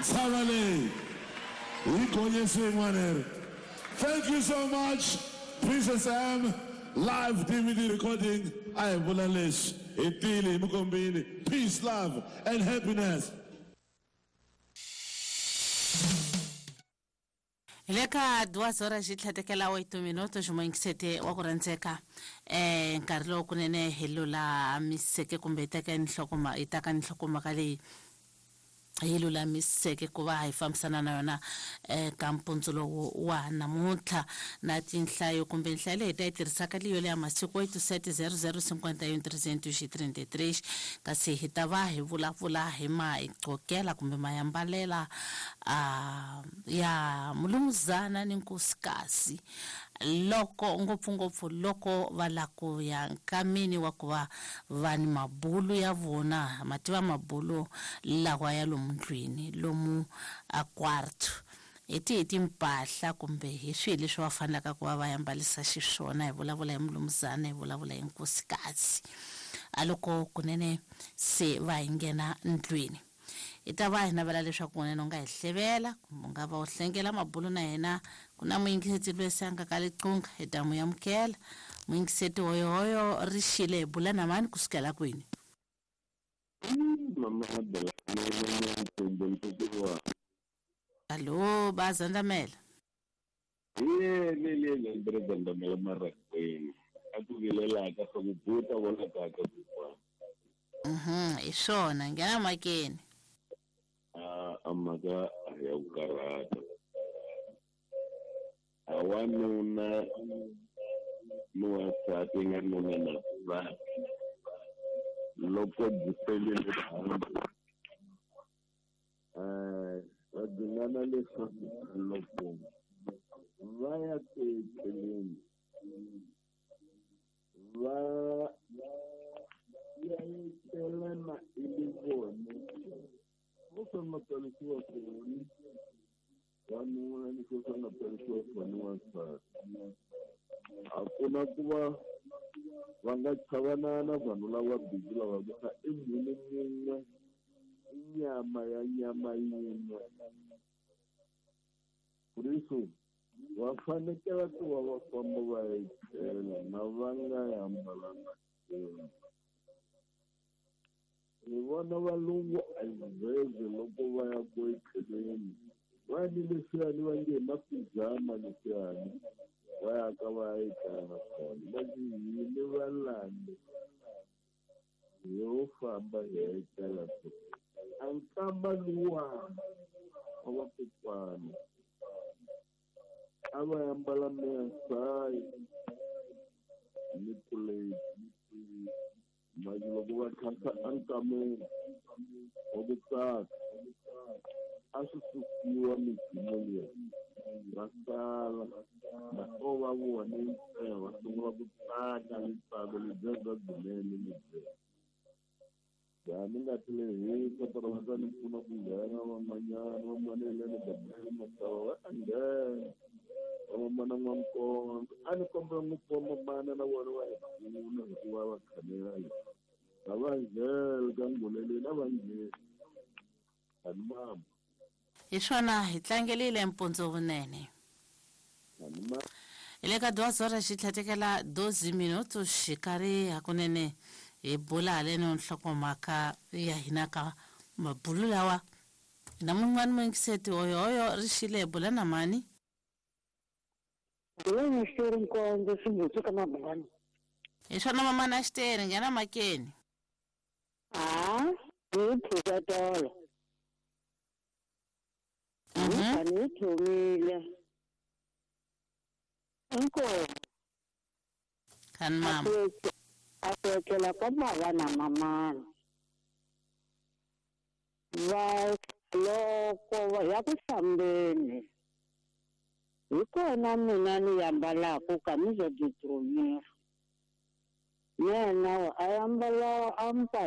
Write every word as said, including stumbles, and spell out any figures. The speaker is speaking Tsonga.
Ntshava leyi hi gonyise yin'wana leri. Thank you so much, Princess M. Live D V D recording. A hi vula leswi hi tile hi mi kombile. Peace, love and happiness. Hi le ka duas horas xi tlhatekela oito minutos moyingisete wa ku rhandzeka eh nkarhi lowu kunene hi lulamiseke kumbe hi teka nhlokoma hi taka nhlokomhaka leyi hi lulamiseke ku va hi fambisana na yona eka mpundzu lowu wa namuntlha na tinhlayo kumbe nhlayo leyi hi ta yi tirhisaka leyo leya masiku oito sete zero zero cinquenta e um trezentos e trinta e três kasi hi ta va hi vulavula hi maigqokela kumbe mayambalela a ya mulumuzana ni nkosikazi loko ngopfungopfu loko va la ku ya nkamini wa ku va va ni mabulu ya vona mativa mabulu lawa ya lomu ndlwini lomu a quarto hi tihi timpahla kumbe hi swihi leswi va fanelaka ku va va yambalisa xiswona. Hi vulavula hi mulumuzana, hi vulavula hi nkosikazi a loko kunene se va hi nghena ndlwini. Hi ta va hi navela leswaku kunene u nga hi hlevela kumbe u nga va u hlengela mabulu na hina. Ku na muyingiseti loyi se a nga ka liqunga, hi ta n'wi amukela. Muyingiseti hoyohoyo ri xile hi bula na mani kusukela kwini? Allo, ba Zandamela. Ye le le le ndre Zandamela marangweni. A ku vilela ka swa ku buta vona ka ka ku. Mhm, hi swona nghena makeni. A a mhaka ya ku karhata. A wanuna ni wansati nga nuna na nsati loko byi pelile dyambu eh va dzingana leswaku loko va ya ku etleleni va ya etlelana i vona vo swi nga tsarisiwa kona wanuna ni swo swi nga tsarisiwa kona wansati. A ku na ku va va nga chavanana vanhu lava bindzu lava ku i munhu mun'we i nyama ya nyama yin'we. Kuriso va fanekele ku va va famba va etlela na va nga hambalanga nchumu. Hi vona valungu a hi loko va ya ku etleleni va ni leswiyani va nge hi mapijama leswiyani va ya ka va ya etlela kona va ku hini valandi yo famba hi ya etlela kona. A nkamba luwa wa vakokwana a va ambala mesayi ni puleti manje loko va khasa enkameni wa ku tsaka a swi susiwa midzimu liya va sala na o va vone ntsena va sungula ku tsaka ntsako lebyiya bya byinene lebyiya. Ya ni nga tlheli kota va ta ni pfuna ku nghena van'wanyana van'wana hi le Gabriel Masava va ta nghena van'wana n'wamkondzo a ni kombela ngopfu vamamana na vona va hi pfuna hikuva va khanela a va nghena ka nguleleni a va ngheni ani mama. Hi swona hi tlangelile mpundzu vunene. Ani mama. Hi le ka duas horas xi tlhatekela doze minutos xikarhi hakunene hi bula haleno nhlokomhaka ya hina ka mabulu lawa. Na mun'wana muyingiseti hoyohoyo ri xile hi bula na mani? Bula xiteri nkondzo swimbutsu ka mabungwana. Hi swona mamana a xiteri nghena makeni. A hi phuka tolo. Mhm. Ni thomile. Inkomo. Kan mama. A ku etlela ka bava na mamana. Va loko va ya ku hlambeni hi kona mina ni yambalaka camisa de dormir. Yena a ambala